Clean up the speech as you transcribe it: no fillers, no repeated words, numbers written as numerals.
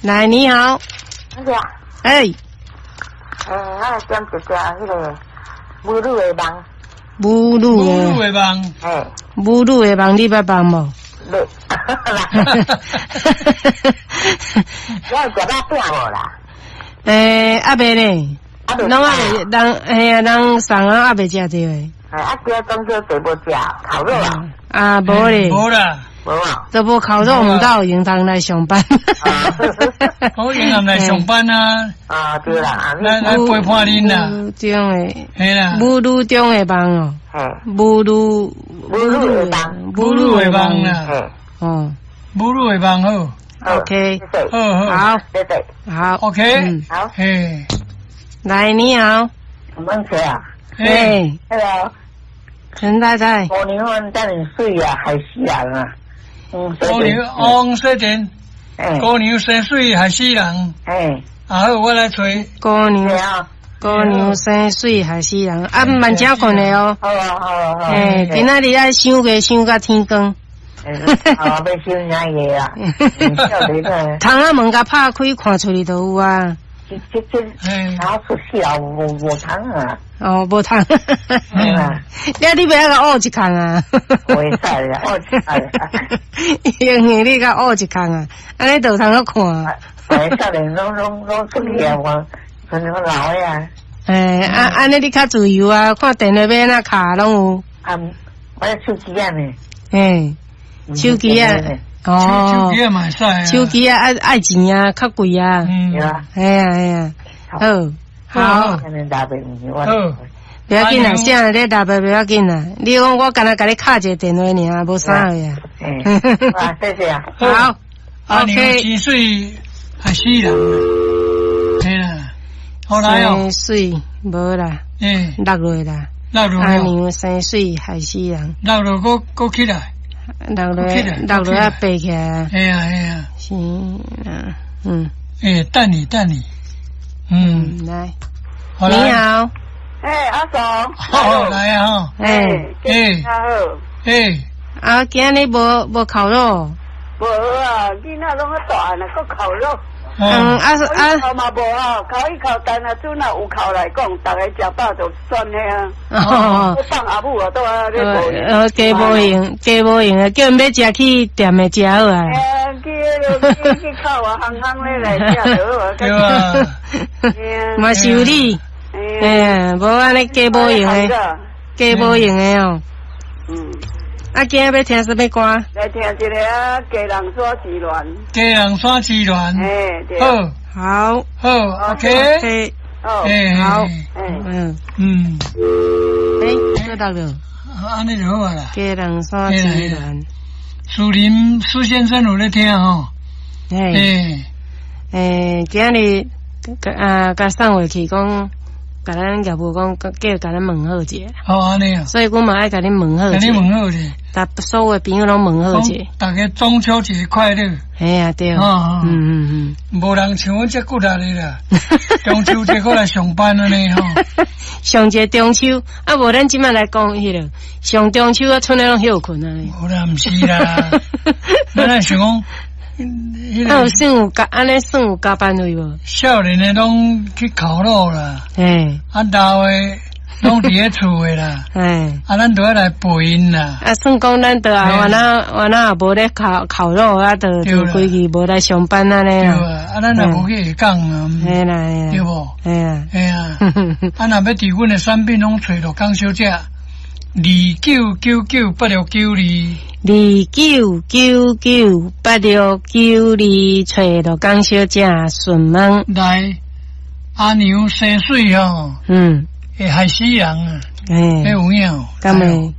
來，你好，那個，欸，我來點一隻彼个母女的夢。母女母女的夢，嘿，母女的夢，你捌夢無？無。你有食肉餅無啦？欸，猶未呢，攏猶未，人嘿啊，人送啊，猶未食著的。啊，今仔中秋節無食烤肉啊？啊，無咧。無啦。無啊。都無烤肉，毋到有閒通來上班。好閒來上班啊！啊，對啦，來來陪伴恁啦。母中的，嘿啦，母女中的夢哦。母女，母女的夢，母女的夢啦。哦，母女的夢好。 OK，好好，好，謝謝。好，OK，好，嘿，來，你好。問誰啊？嘿，Hello，陳太太。姑娘，遮爾媠啊，害死人啊！姑娘，王雪珍，姑娘生媠害死人。欸，啊好，我來揣。姑娘，姑娘生媠害死人，啊，慢請睏的哦。好啊，好啊，好。欸，今仔日愛傷夜傷甲天光。啊，欲傷啥夜啊？窗仔門共拍開，看出去就有啊。這這，然後出去啊，無無窗啊。哦，無窗。你欲愛共挖一空啊？袂使啦，挖一空。因為你共挖一空啊，按呢就有通好看。哎，少年攏攏攏出去啊，我可能老的啊。欸，啊，按呢你較自由啊，看電話欲按怎敲攏有。啊，我手機仔呢。欸，手機啊。哦，手機仔嘛會使啊。手機仔愛愛錢啊，較貴啊。嗯。嘿啊嘿啊，好，好。好，不要緊啦，啥你打不要緊啦。你講我干焦共你敲一个電話爾，無啥個啊。嗯，啊，謝謝啊。好，阿娘生媠害死人，嘿啦，好來哦。生媠無啦，欸，落落啦。落落。阿娘生媠害死人。落落閣閣起來。落落落落啊，爬起來。嘿啊嘿啊。是啊，嗯。欸，等你等你。嗯，來。你好。欸，阿嫂。好，來啊！欸欸，好。欸，啊，今日無無烤肉？無啊，囡仔攏較大漢啦，閣烤肉。嗯，啊啊。烤嘛無啊，烤一烤，但若陣若有烤來講，逐家食飽就算了啊。哦。放阿母啊，倒啊咧無閒。加無閒，加無閒啊，叫𪜶欲食去店的食好啊。欸，去彼个去去烤啊，烘烘咧來食就好啊。對啊。嘛是有理。欸，無按呢加無閒的，加無閒的哦。嗯。啊，今仔欲聽啥物歌？來聽一个啊，基隆山之戀。基隆山之戀。欸，對。好。好。好，OK。好。好。嗯。嗯。欸，閣落了。按呢就好啊啦。基隆山之戀。蘇林蘇先生有咧聽吼。欸。欸，今日啊，共送回去講。共咱業務講，叫共咱問好者。好按呢啊。所以阮嘛愛共恁問好者。共恁問好者。逐所有朋友攏問好者。逐家中秋節快樂。嘿啊，對。嗯嗯嗯。無人像阮遮骨力的啦。中秋節閣來上班按呢吼。上一个中秋，啊無咱這擺來講彼个上中秋啊，賰咧攏歇睏啊。無啦，毋是啦。咱來想講。啊，有算有加，按呢算有加班費無？少年的攏去烤肉啦，欸，啊老的攏佇咧厝的啦，欸，啊咱就愛來陪𪜶啦。啊，算講咱就啊，原來原來也無咧烤烤肉啊，就就規氣無來上班按呢。對啊，啊咱也無去下崗啊，嘿啦嘿啦，對無？嘿啊，嘿啊，啊若欲佇阮的產品攏揣陸江小姐，29998692。29998692，揣陸江小姐順問。來，阿娘生媠吼，嗯，會害死人啊！欸，彼有影，敢會有影？